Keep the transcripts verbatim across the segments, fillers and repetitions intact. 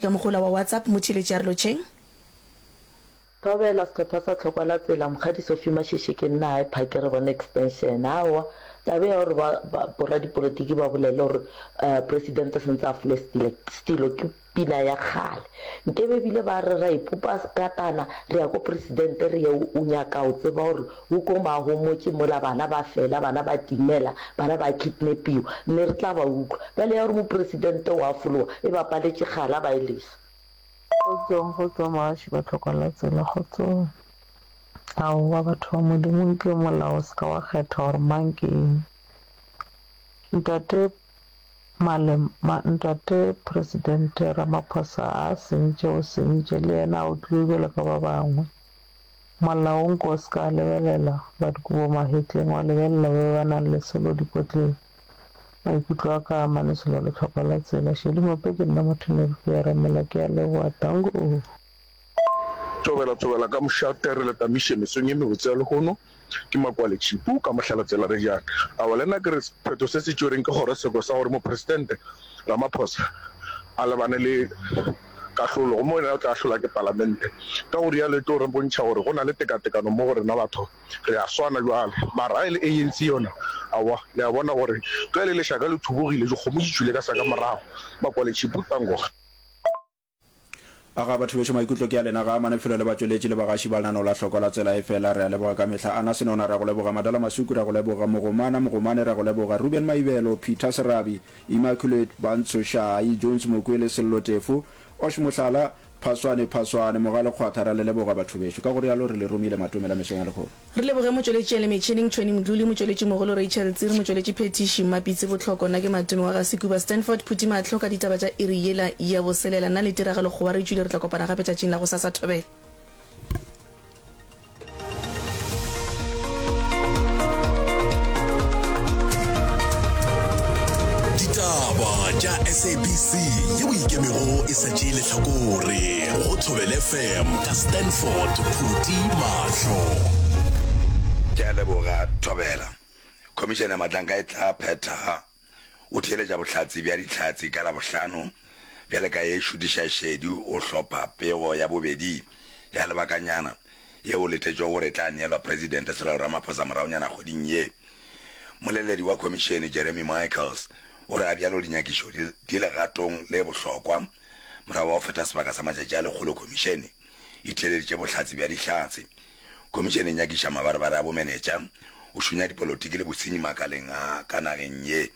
Ka mogola wa WhatsApp, motheeletši a re lotšheng. Thobela, Sehlopha sa Tlhokwa la Tsela, Mokgadi Sophie Mashishe ke nna High Park re bone extension. Aowa, taba ya gore ba, ba, boradipolotiki ba bolele gore uh, presidente sentse a fole stilo, stilo ke pina ya kgale. Nkebe ebile ba re ra ipopa katana re ya ko presidente re ye o nyaka o tseba gore o ko mahomotše mola bana ba fela, bana ba timela, bana ba kidnapiwa, mme re tla ba utlwa. Bjale ya gore mopresidente o a fologa e ba paletše kgale a ba e lesa. Kgotsong, kgotsong bagaši ba tlhokwa la tsela, kgotsong. Aowa batho ba Modimo nke molao o se ka wa kgetha gore mang ke eng. Ntate Malem, ma, ntate Presidente Ramaphosa a sentše o sentše le yena a otlilwe bjalo ka ba bangwe. Molao nko o se ka lebelela ba dikobo mahetleng wa lebelela ba ba nang le selo dipotleng. Maikutlo a ka a mane selo le tlhokwa la tsela. Shedi Mope ke nna motho ne ke ya ramela ke a leboha tango. Thobela thobela ka mošate re le tamiše mesong ye mebotse ya lehono ke Makwale Tšhipu ka mohlala tsela re jang. Aowa le nna ke re sephetho se se tšwereng ke kgorotsheko sa gore mopresidente Ramaphosa a lebane le kahlolo gomme yena o tla ahlolwa ke palamente. Ka go rialo e tlo re bontšha gore go na le tekatekano mo go rena batho re a swana bjale. Mara ga e le A N C yona aowa le a bona gore ge le lešaka le thubogile dikgomo di tšwile ka sa ka morago. Makwale Tšhipu tango. Aga batho bešo maikutlo ke a lena ga a mane felo le batšweletši le bagaši ba lenaneo la Hloko la Tsela efela re a leboga ka mehla Anna Senona re a go leboga Madala Masuku re a go leboga Mogomana Mogomane re a go leboga Ruben Maibelo Peter Serabi Immaculate Bantsho Shai Jones Mokwele Sello Tefo Osh Mohlala Phaswane Phaswane Mogale Kgwatha re a le leboga batho bešo ka go rialo re le romile matome la mesong ya lehono. Re leboge motšweletši a le metšhineng Tony Mdluli, motšweletši mogolo Rachel Tsiri, motšweletši phethiši Mmapitsi Bohloko, nna ke Matome wa ga Sekuba Stanford Phuti Mahlo ka ditaba tša iri yela ya boselela. Nna le Tiragalo Kgowa re tšwile re tla kopana gape tšatšing la gosasa. Thobela. Ditaba tša S A B C yeo ikemego e sa tšee lehlakore go Thobela F M ka Stanford Phuti Mahlo. Ke a leboga Thobela. Khomišene ya Matlanka e tla phetha o theeletša bohlatse bja dihlatse ka Labohlano bjale ka ye šutiša šedi o hlopha pego ya bobedi ya lebakanyana yeo letetšwego gore e tla neelwa Presidente Cyril Ramaphosa moragonyana kgweding ye. Moleledi wa khomišene Jeremy Michaels o re a bjalo dinyakišo di, di legatong le bohlokwa morago ga go feta sebaka sa matšatši a lekgolo khomišene e theeleditše bohlatse bja dihlatse. Khomišene e nyakiša mabarebare a bomenetša, o šunya dipolotiki le bosenyi makaleng a ka nageng ye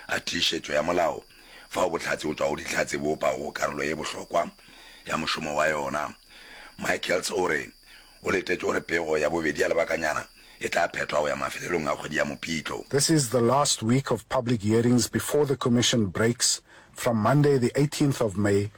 a tiišetšo ya molao fao bohlatse go tšwa go dihlatse bo opago karolo ye bohlokwa ya mošomo wa yona. Michaels o re o letetše gore pego ya bobedi ya lebakanyana e tla phethwa go ya mafelelong a kgwedi ya Mopitlo. This is the last week of public hearings before the commission breaks from Monday the eighteenth of May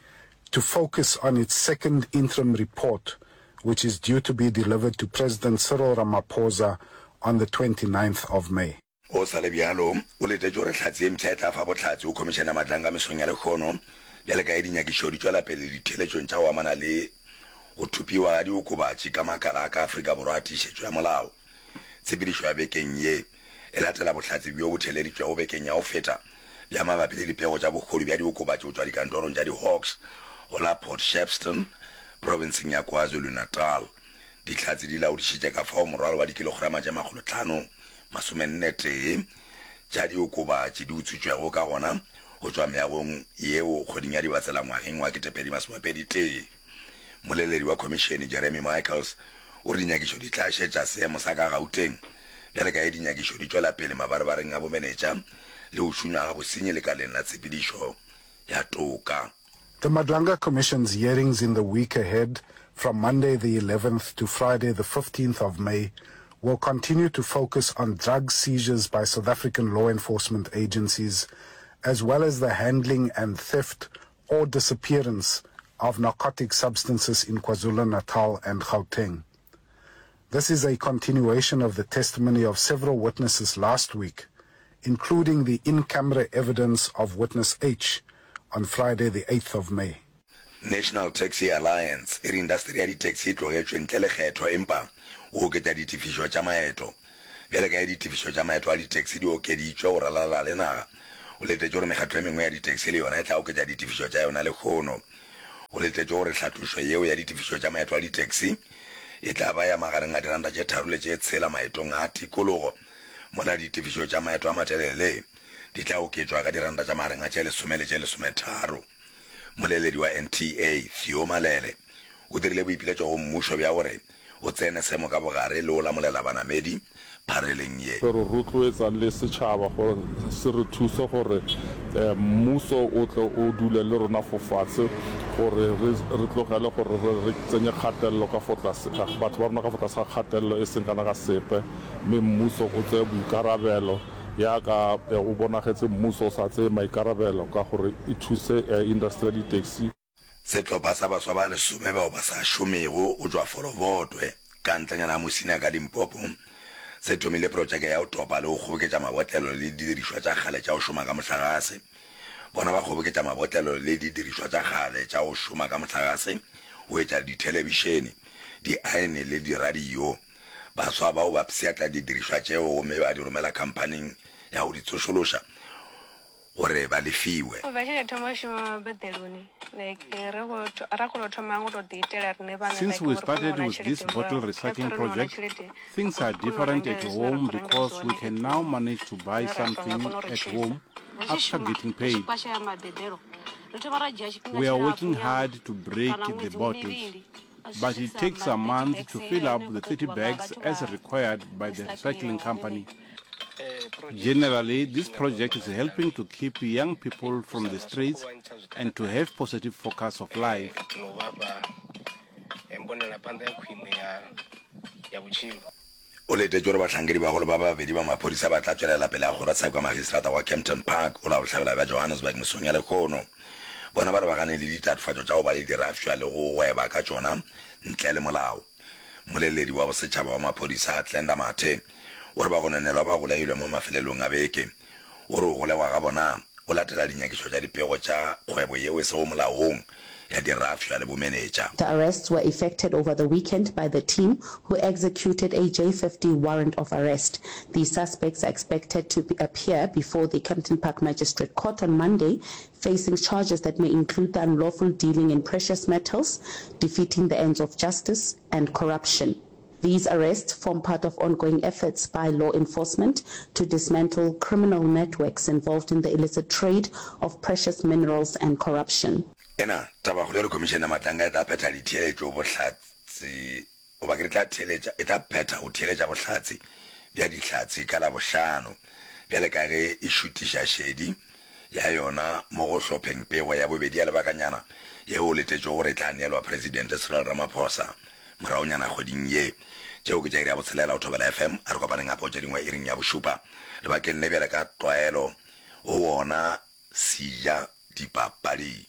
to focus on its second interim report, which is due to be delivered to President Cyril Ramaphosa on the twenty-ninth of May. Go sa le bjalo, o letetše gore hlatse ye mpsha e tla fa bohlatse go Khomišene ya Matlanka mesong ya lehono bjale ka ge dinyakišo di tšwela pele ditheeletšong tša go amana le go thopiwa ga diokobatši ka makala a ka Afrika Borwa a tiišetšo ya molao. Tshepedišo ya bekeng ye e latela bohlatse bjo bo theeleditšwego bekeng ya go feta bja mabapi le dipego tša bohodu bja diokobatši go tšwa dikantorong tša di-Hawks go la Port Shepstone, profenseng ya KwaZulu-Natal. Dihlatse di laodišitše ka fao morwalo wa dikilograma tše makgolotlhano masomenne tee tša diokobatši di utswitšwego ka gona go tšwa meagong yeo kgweding ya Dibatsela ngwageng wa ketepedi masomepedi tee. Moleledi wa khomišene Jeremy Michaels o re dinyakišo di tla šetša seemo sa ka Gauteng bjale ka ge dinyakišo di tšwela pele mabarebareng a bomenetša le go šunywa ga bosenyi lekaleng la tshepedišo ya toka. The Madlanga Commission's hearings in the week ahead from Monday the eleventh to Friday the fifteenth of May will continue to focus on drug seizures by South African law enforcement agencies, as well as the handling and theft or disappearance of narcotic substances in KwaZulu-Natal and Gauteng. This is a continuation of the testimony of several witnesses last week, including the in-camera evidence of witness H on Friday the eighth of May. National Taxi Alliance e re indasteri ya di-taxi e tlogetšwe ntle le kgetho empa go oketša ditefišo tša maeto. Bjale ka ge ditefišo tša maeto a di-taxi di okeditšwe go ralala le naga, o letetše gore mekgatlo e mengwe ya di-taxi le yona e tla oketša ditefišo tša yona lehono. Go letetšwe gore hlatlošo yeo ya ditefišo tša maeto a ditaxi e tla ba ya magareng a diranta tše tharo le tše tshela maetong a tikologo, mola ditefišo tša maeto a matelele di tla oketšwa ka diranta tša magareng a tše lesome le tše lesometharo. Moleledi wa N T A, Theo Malele, o dirile boipiletšo go mmušo bja gore o tsene seemo ka bogare le go lamolela banamedi phareleng ye. Re rotloetsa le setšhaba gore se re thuse gore mmuso o tle o dule le rona fo fatshe gore re re tlogele gore re re tsenye kgatelelo ka fo tlase batho ba rona ka fo tlase ga kgatelelo e seng kana ka sepe mme mmuso o tseye boikarabelo yaka o bonagetse mmuso o sa tseye maikarabelo ka gore e thuse industry ya di-taxi. Sehlopha sa baswa ba lesome bao ba sa šomego go tšwa Folovotwe, ka ntlenyana ga Musina ka Limpopo, se thomile protšeke ya go topa le go kgoboketša mabotlelo le didirišwa tša kgale tša go šoma ka mohlagase. Bona ba kgoboketša mabotlelo le didirišwa tša kgale tša go šoma ka mohlagase go etša dithelebišene, diaene le diradio. Baswa bao ba pshatla didirišwa tšeo gomme ba di romela khamphaning ya go di tsošološa gore ba lefiwe. U bva tshe nda thoma u shuma mabeḓeloni like ri khou ra kona u thoma ngo to ḓi itela riṋe vhaṋe Since like we uri kone u started wana with this tshelede murahu bottle kha recycling ri kone u wana project, tshelede things are ri kone u different renga at zwine ra home khou renga because we zwone can now manage to buy zwine ra tonga something kona u ri at tshidza. home Ri tshi after shuma getting ri tshi paid. kwashaya mabeḓelo ri thoma ra dzhia tshifhinga We are tshilapfu working nyana hard to break kana the ṅwedzi bottles, mivhili u tshi but it swikisa takes a ma thirty month bags to heiḽa fill ine up ya the khou thirty ṱoḓiwa nga bags vhathu as vha required by the recycling recycling hone. company. Generally, this project is helping to keep young people from the streets and to have positive focus of life. O letetše gore bahlankedibagolo ba babedi ba maphodisa ba tla tšwelela pele ga kgorotsheko ya magistrata wa Kempton Park go la bohlabela bja Johannesburg mesong ya lehono. Bona ba lebagane le ditatofatšo tša go ba le dirafša le go gweba ka tšona ntle le molao. Mmoleledi wa bosetšhaba wa maphodisa, Glenda Mathe, o re bagononelwa ba golegilwe mo mafelelong a beke. O re go golegwa ga bona go latela dinyakišo tša dipego tša kgwebo yeo e sego molaong ya dirafša le bomenetša. The arrests were effected over the weekend by the team who executed a J fifty warrant of arrest. The suspects are expected to appear before the Kempton Park Magistrate Court on Monday, facing charges that may include the unlawful dealing in precious metals, defeating the ends of justice and corruption. These arrests form part of ongoing efforts by law enforcement to dismantle criminal networks involved in the illicit trade of precious minerals and corruption. Ena tabakgolo e re Khomišene ya Matlanga e tla phetha ditheeletšo bohlatse goba ke re tla theeletša e tla phetha go theeletša bohlatse bja dihlatse ka Labohlano bjale ka ge e šutiša šedi ya yona mo go hlopheng pego ya bobedi ya lebakanyana yeo go letetšwego gore e tla neelwa Presidente Cyril Ramaphosa moragonyana kgweding ye. Tšeo ke tša iri ya botshelela go Thobela F M. A re kopaneng gape go tše dingwe iring ya bošupa lebakeng le bjale ka tlwaelo go wona Seja Dipapading.